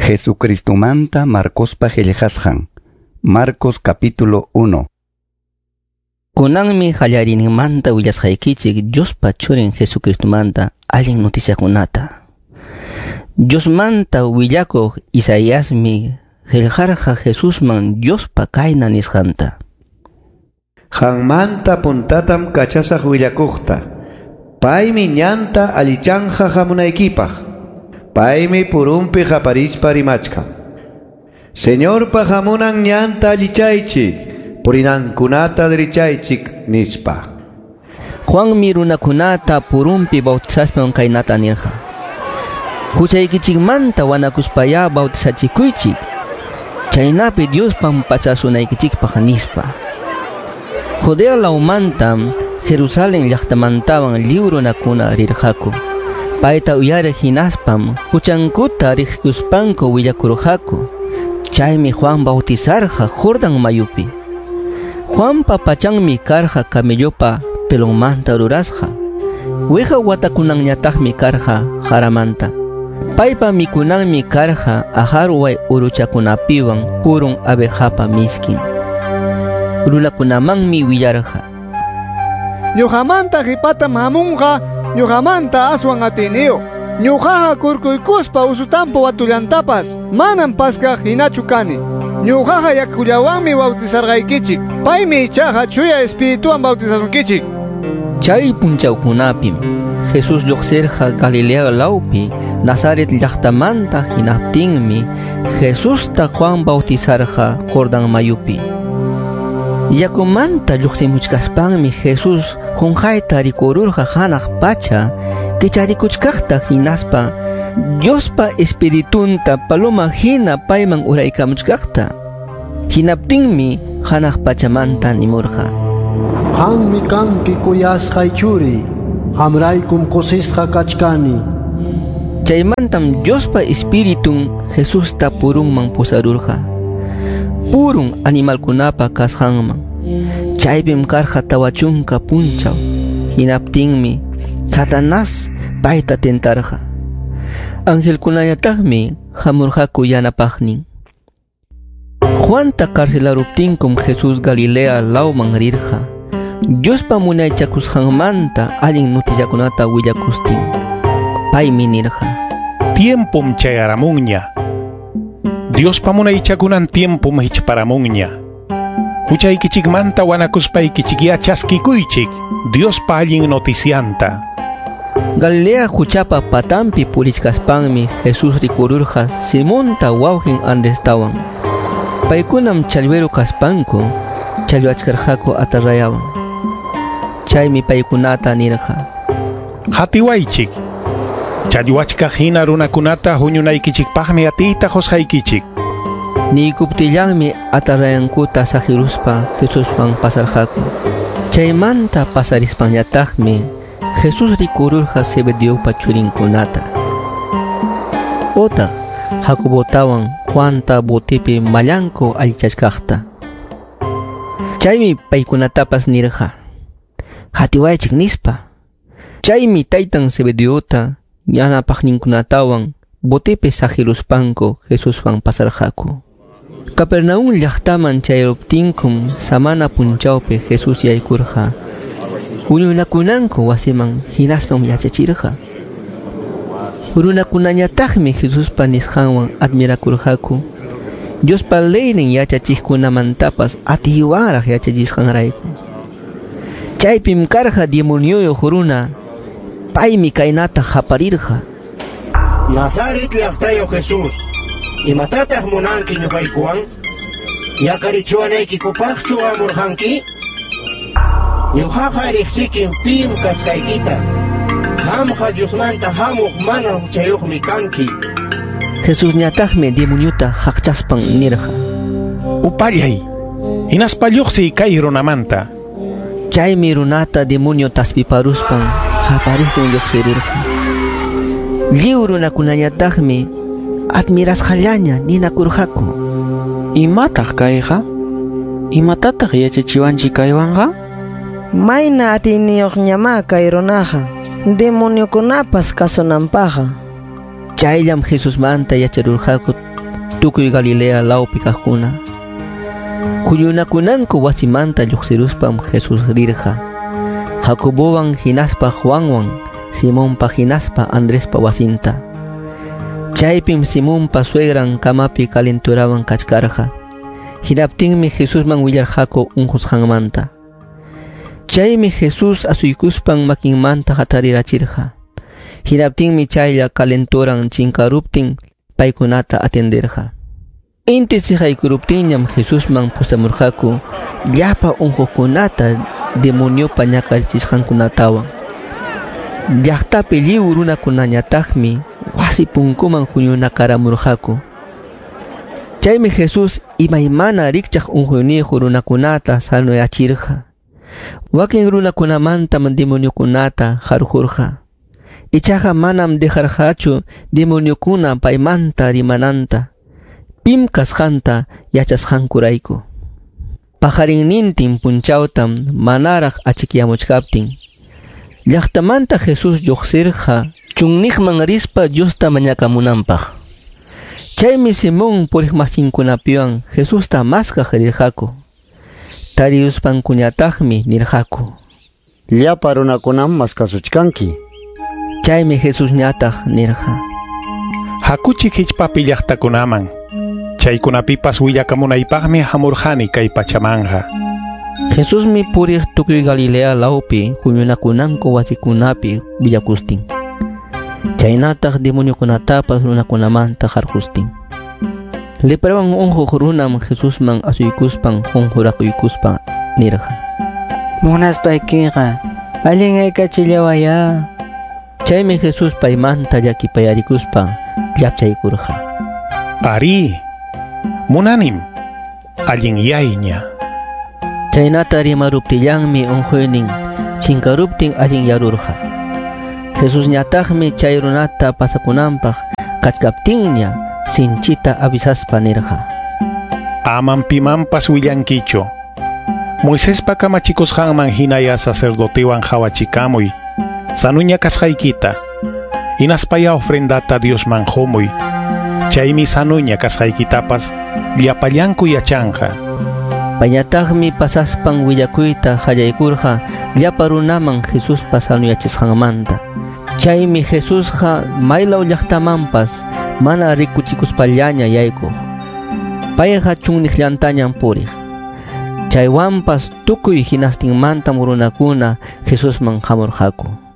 Jesucristomanta Marcospa qillqasqan. Marcos capítulo 1. Kunanmi qallariyninmanta willasqaykichik Diospa churin Jesucristomanta allin noticiakunata. Diosmanta willakuq Isaiasmi qillqarqa Jesusman Diospa kayna nisqanta. Qanmanta puntatam kachasaq willakuqta. Paymi ñanta allichanja hamunaykipaq. Paymi purunpi qaparispa rimachkan. Señorpa hamunan ñanta allichaychik, purinankunata dirichaychik nispa. Juanmi runakunata purunpi bautizaspan kaynata nirqa. Huchaykichikmanta wanakuspayá bautizachikuychik. Chaynapi Diospa pachasunaykichikpaq nispa. Judea lawmantam Jerusalén llaqtamantawan lliw runakuna rirqaku. Payta uyariq hinaspam huchankuta riqsikuspanku willakurqaku. Chaymi Juan bautizarqa Jordán mayupi. Juanpa pachanmi karqa camellopa pelonmanta rurasqa. Wiqa watakunanñataqmi karqa jaramanta. Paypa mikunanmi karqa ajarway uruchakunapiwan purun abejapa miskin. Runakunamanmi willarqa. Ñuqamanta qipatam hamunqa, ñuqamanta aswan atiniyuq. Ñuqaqa kurkuykuspa usutampa watullantapas manam paskaq hinachu kani. Ñuqaqa yakullawanmi bautizarqaykichik. Paymi ichaqa Chuya Espirituwan bautizasunkichik. Chay punchawkunapim Jesús lluqsirqa Galilea lawpi Nazaret llaqtamanta hinaptinmi Jesusta Juan bautizarqa Jordán mayupi. Yakumanta lluqsimuchkaspanmi Jesús qunqayta rikururqa hanaq pacha kicharikuchkaqta hinaspa Diospa Espiritunta paloma hina payman uraykamuchkaqta. Hinaptinmi hanaq pachamanta nimurqa. Qammi kanki kuyasqay churi, qamraykum kusisqa kachkani. Chaymantam Diospa Espiritun Jesusta purunman pusarurqa. Purun animalkunapa kasqanman. Chaypim karqa 40 punchaw. Hinaptinmi Satanás payta tentarqa. Angelkunañataqmi hamurqaku yanapaqnin. Juanta carcelaruptinkum Jesús Galilea lawman rirqa. Diospa munaychakusqanmanta allin noticiakunata willakustin. Paymi nirqa. Tiempom chayaramunña. Diospa munaychakunan tiempom hichparamunña. Huchaykichikmanta wanakuspaykichikya chaskikuychik Diospa allin noticianta. Galilea huchapa patampi purichkaspanmi Jesús rikururqa Simonta wawqin Andrestawan. Paykunam challwero kaspanku challwachkarqaku atarrayawan. Chaymi paykunata nirqa. Hatiwaychik. Challwachkaq hina runakunata huñunaykichikpaqmi atiyta qusqaykichik. Niykuptillanmi atarrayankuta saqiruspa Jesuswan pasarqaku. Chaymanta pasarispanñataqmi Jesús rikururqa Zebedeopa churinkunata. Otaq Jacobotawan Juanta botipi mallanku allichachkaqta. Chaymi paykunatapas nirqa. Hatiwaychik nispa. Chaymi taytan Zebedeota yanapaqninkunatawan botipi saqiruspanku Jesuswan pasarqaku. Capernaum llaqtaman chayruptinkum samana punchawpi Jesús yaykurqa. Huñunakunanku wasiman hinaspam yachachirqa. Runakunañataqmi Jesuspa nisqanwan admirakurqaku. Diospa leynin yachachiqkunamantapas atiywanraq yachachisqanrayku. Chaypim karqa demonioyuq runa. Paymi kaynata qaparirqa. Nazaret llaqtayuq Jesús, imatataq munanki ñuqaykuwan? Yakarichiwanaykikupaqchu hamurqanki? Ñuqaqa riqsikim pim kasqaykita. Qamqa Diosmanta hamuq mana huchayuqmi kanki. Jesusñataqmi demoniota haqchaspan nirqa. Upallay, hinaspa lluqsiy kay runamanta. Chaymi runata demonio taspiparuspan qaparistin lluqsirurqa. Lliw runakunañataqmi admirasqallaña ninakurqaku. Imataq kayqa? Imatataq yachachiwanchik kaywanqa? Mayna atiyniyuqñamá kay runaqa, demoniokunapas kasunanpaqqa. Chayllam Jesusmanta yacharurqaku tukuy Galilea lawpi kaqkuna. Huñunakunanku wasimanta lluqsiruspam Jesús rirqa Jacobowan hinaspa Juanwan Simonpa hinaspa Andrespa wasinta. Chaypim Simonpa suegran kamapi calenturawan kachkarqa. Hinaptinmi Jesusman willarqaku unqusqanmanta. Chaymi Jesús asuykuspan makinmanta hatarirachirqa. Hinaptinmi chaylla calenturan chinkaruptin paykunata atenderqa. Inti siqaykuruptinñam Jesusman pusamurqaku llapa unquqkunata demoniopa ñakarichisqankunatawan. Llaqtapi lliw runakunañataqmi wasi punkuman huñunakaramurqaku. Chaymi Jesús imaymana rikchaq unquyniyuq runakunata sanoyachirqa. Wakin runakunamantam demoniokunata qarqurqa. Ichaqa manam dejarqachu demoniokuna paymanta rimananta, pim kasqanta yachasqankurayku. Paqarinnintin punchawtam manaraq achikyamuchkaptin. Llaqtamanta Jesús lluqsirqa chunniqman rispa Diosta mañakamunanpaq. Chaymi Simón puriqmasinkunapiwan Jesusta maskaq rirqaku. Tariyuspankuñataqmi nirqaku: Llapa runakunam maskasuchkanki. Chaymi Jesusñataq nirqa: Hakuchik hichpapi llaqtakunaman. Chaykunapipas willakamunaypaqmi hamurqani kay pachamanqa. Jesusmi puriq tukuy Galilea lawpi huñunakunanku wasikunapi willakustin. Chaynataq demoniokunatapas runakunamanta qarqustin. Leprawan unquq runam Jesusman asuykuspan qunqurakuykuspa nirqa: Munaspaykiqa allin aykachillawayá. Chaymi Jesús paymanta llakipayarikuspa llapchaykurqa. Ari, munanim, allinyayña. Chaynata rimaruptillanmi unquynin chinkaruptin allinyarurqa. Jesusñataqmi chay runata pasakunanpaq kachkaptinña sinchita avisaspa nirqa: Amam pimanpas willankichu. Moisespa kamachikusqanman hinaya sacerdotewan qhawachikamuy sanuña kasqaykita. Hinaspaya ofrendata Diosman qumuy. Chaymi sanuña kasqaykitapas llapallanku yachanqa. Payñataqmi pasaspan willakuyta qallaykurqa llapa runaman Jesuspa sanuyachisqanmanta. Chaymi Jesusqa maylaw llaqtamanpas mana rikuchikuspallaña yaykuq. Payqa chunniqllantañam puriq. Chaywanpas tukuy hinastinmantam runakuna Jesusman hamurqaku.